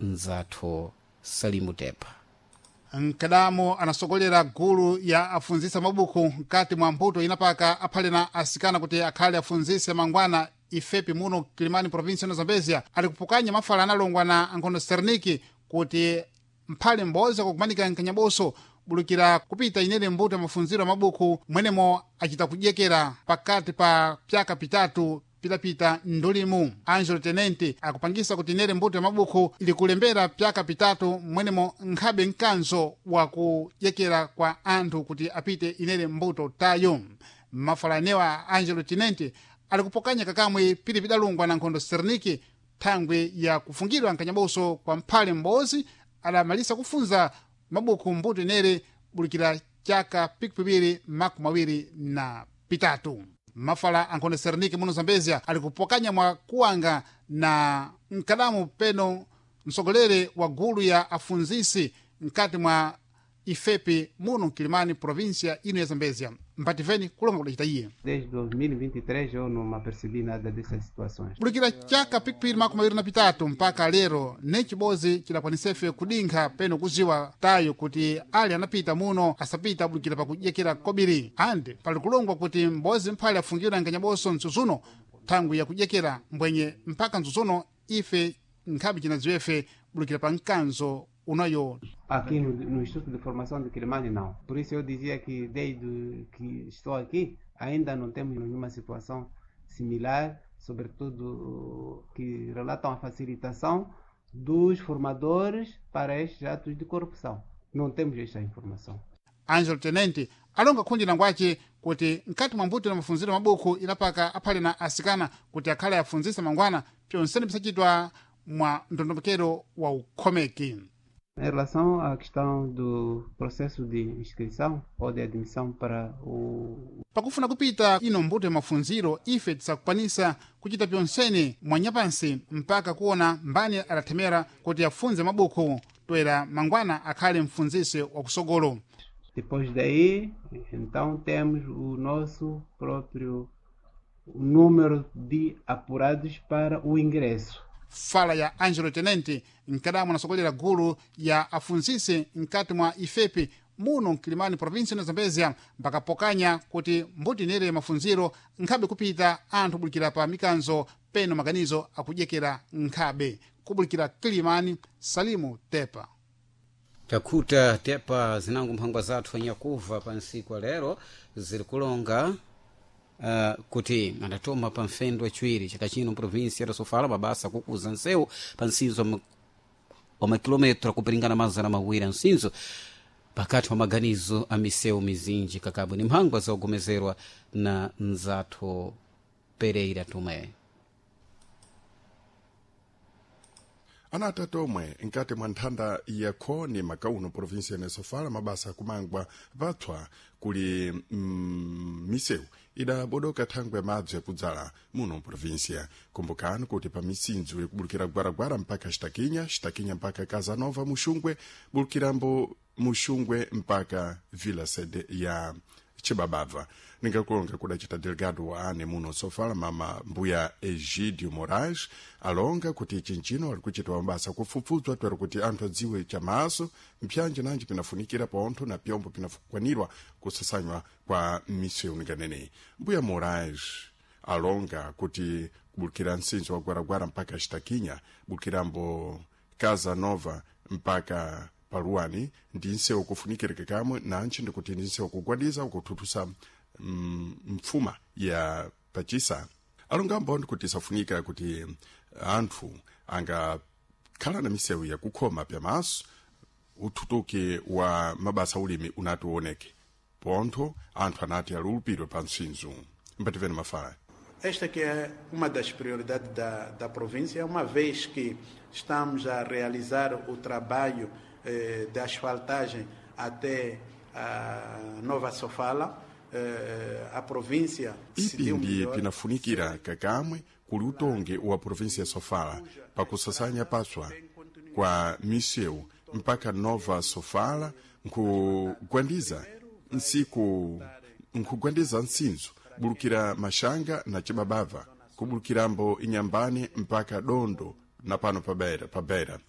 mzathu Salimu Tepa. Mkadamo anasogolera gulu ya afunzisa mabuku mkati mwa mbuto inapaka aphale na asikana kuti akhale afunzise mangwana ifepi muno Kilimani, provinsi ya Zambezia, ali kupukanya mafala analongwa na Ankhondo Serniki kuti mphale m'bodzi akukumanika mkanyaboso bulukira kupita inene mbuto ya mafunziro ya mabuku mwenemo acita kudyekera pakati pa pyaka pitatu pitapita ndulimu. Angelo Tenente akupangisa kuti inere mbuto ya mabuku ili kulembera pyaka pitatu mwenemo nkhabe mkanzo wa kudyekera kwa anthu kuti apite inere mbuto tayo. Mafala anewa Angelo Tenente ali kupokanya kakamwe pili pidalungwa na Nkhondo Serniki thangwi ya kufungidwa mkanyaboso kwa mphale m'bodzi adamalisa kufunza mabuku mbuto inere bulikira chaka 2023. Mafala Ankhondo Serniki muno Zambezia ali kupokanya mwa kuwanga na mkadamu peno msogolere wa gulu ya afunzisi mkati mwa ifepi muno Kilimani, província ino ya Zambezia. Mpativeni kulonga kudacita iye. Desde 2023 eu não me apercebi nada dessas situações. Bulikira chaka 2023 mpaka lero ne chibodzi chidakwanisefe kudinkha peno kuziwa tayo kuti ali anapita muno asapita bulikira pakudyekera kobiri, andi pali kulongwa kuti m'bodzi mphale afungidwa nkanyaboso mtsutsuno thangwi yakudyekera mbwenye mpaka mtsutsuno ife nkhabe cinadziwefe bulikira pa mkanzo unayo. Aqui no Instituto de Formação de Quilimane, não. Por isso eu dizia que desde que estou aqui ainda não temos nenhuma situação similar, sobretudo que relatam a facilitação dos formadores para estes atos de corrupção. Não temos esta informação. Angelo Tenente alonga khundi langwace kuti mkati mwa mbuto na mafunziro mabuku inapaka aphale na asikana kuti akhale afunzisa mangwana pyonsene pisachitwa mwa ndondomekero wa ukhomeki. Em relação à questão do processo de inscrição ou de admissão para o Pakufuna kupita ino mbuto ya mafunziro, ife tisakukwanisa kuchita pyonsene mwanyapansi mpaka kuona mbani adathemera kuti afunze mabuku toera mangwana akhale mfunzisi wakusogolo. Depois daí, então temos o nosso próprio número de apurados para o ingresso. Fala ya Angelo Tenente, mkadamu anasogolera gulu ya afunzisi mkati mwa ifepi muno Mkilimani, provinsi ya Zambezia, mpakapokanya kuti mbuti inere mafunziro nkhabe kupita anthu bulikira pa mikanzo peno maganizo akudyekera nkhabe kubulikira Kilimani. Salimu Tepa. Takhuta Tepa. Zinango mphangwa zathu anyakuva pa nsiku lero ziri kulonga kuti adatoma pa mfendo wachiwiri chaka chino provinsi ya Sofala mabasa kukuza nsewu pa nsinzo wa makilometro akupiringana 200 ansinzo pakati pa maganizo a misewu mizinji kakabwe ni mphangwa zogomezerwa na mzathu Pereira Tume. Ana atatu omwe nkati mwa nthanda ya khoni makauno provinsia ya Sofala mabasa akumangwa patswa kuli misewu idabodoka thangwe ya madzi yakudzala muno mprovinsia. Kumbukani kuti pa misinzo ikubulukira Gwaragwara mpaka Xitakinya, Xitakinya mpaka Casanova Muxungwe, bulukirambo Muxungwe mpaka Vila Sede ya Chibabava. Ningakulonga kudacita delegado wa ane muno Sofala, mama mbuya Egidio Moraes, alonga kuti chinchino ali kuchitwa mabasa kufufudzwa twero kuti anthu adziwe chamaso mpyanji nanji pinafunikira pontho na pyombo pinakwanirwa kusasanywa kwa misewu ninganeneyi. Mbuya Moraes alonga kuti kubulukira msinzo wa Gwaragwara mpaka Xitakinya, bulukirambo Casa Nova mpaka paluwani ndi nsewu kufunikirika kamwe nantchi ndikuti ndi nsewu kugwadiza ukuthuthusa mfuma ya pachisa. Alongambo ndikuti isafunika kuti anthu angakhala na misewu yakukhoma pyamaso uthutuki wa mabasa ulimi unati uoneke pontho anthu anati alulupidwe pa msinzo. Mbativeni mafala. Esta que é uma das prioridades da província, uma vez que estamos a realizar o trabalho de asfaltagem até a Nova Sofala, a província Ipi decidiu ndiye melhor pinafunikira kakamwe kuli utongi wa provinsia ya Sofala pakusasanya paswa kwa misewu mpaka Nova Sofala nkugwandiza nsiku nkugwandiza nsinzo bulukira Mashanga na Chibabava kubulukirambo Inyambani mpaka Dondo na pano pabera, pabera.